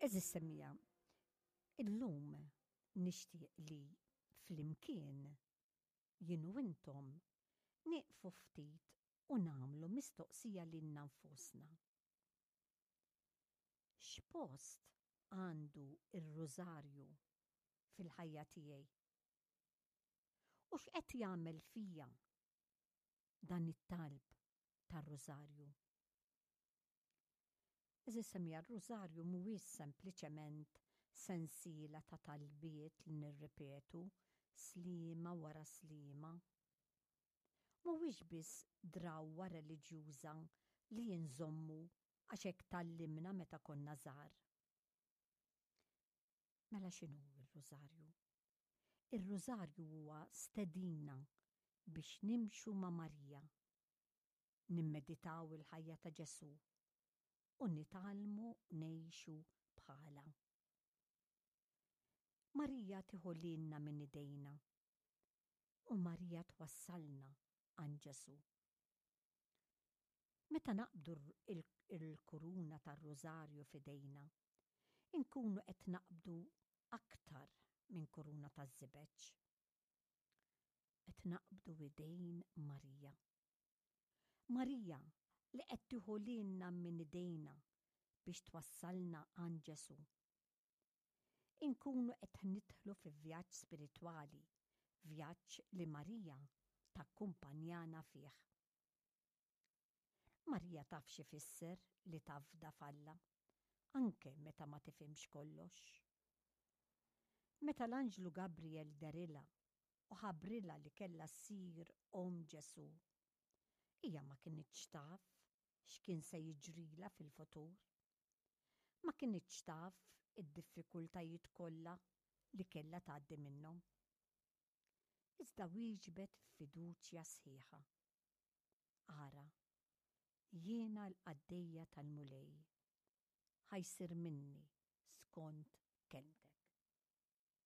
Għeżież semmiegħa, illum nixtieq li flimkien jien u intom nieqfu ftit u nagħmlu mistoqsija lilna nfusna. X'post għandu r-Rużarju fil-ħajja tiegħi? U x'qed jagħmel fija dan it-talb tar-Rużarju? Għeżież semmiegħa, r-Rużarju mhuwiex sempliċement sensiela ta' talbiet li nirripetu sliema wara sliema. Mhuwiex biss drawwa reliġjuża li nżommu għax hekk tgħallimna meta konna żgħar. Mela x'inhu r-Rużarju? Ir-Rużarju huwa stedina biex nimxu ma' Marija nimmeditaw il-ħajja ta' Ġesù u nitgħallmu ngħixu bħalha. Marija tieħu lilna minn idejna u Marija twassalna għand Ġesù. Meta naqbdu l-kuruna tar-Rużarju f'idejna, inkunu qed naqbdu aktar minn kuruna taż-żibeġ. Qed naqbdu idejn Marija. Marija li qed tieħu lilna minn idejna biex twassalna għand Ġesù. Inkunu qed nidħlu fi vjaġġ spiritwali, vjaġġ li Marija takkumpanjana fih. Marija taf x'ifisser li tafda f'Alla, anke meta ma tifhimx kollox. Meta l-anġlu Gabriel dehrilha u ħabbrilha li kellha ssir omm Ġesù, hija ma kinitx taf x'kien se jiġrilha fil-futur. Ma kinitx taf id-diffikultajiet kollha li kellha tgħaddi minnhom. Iżda wieġbet f'fiduċja sħiħa. Ara, jiena l-qaddejja tal-Mulej, ħa jsir minni skont kelmtek.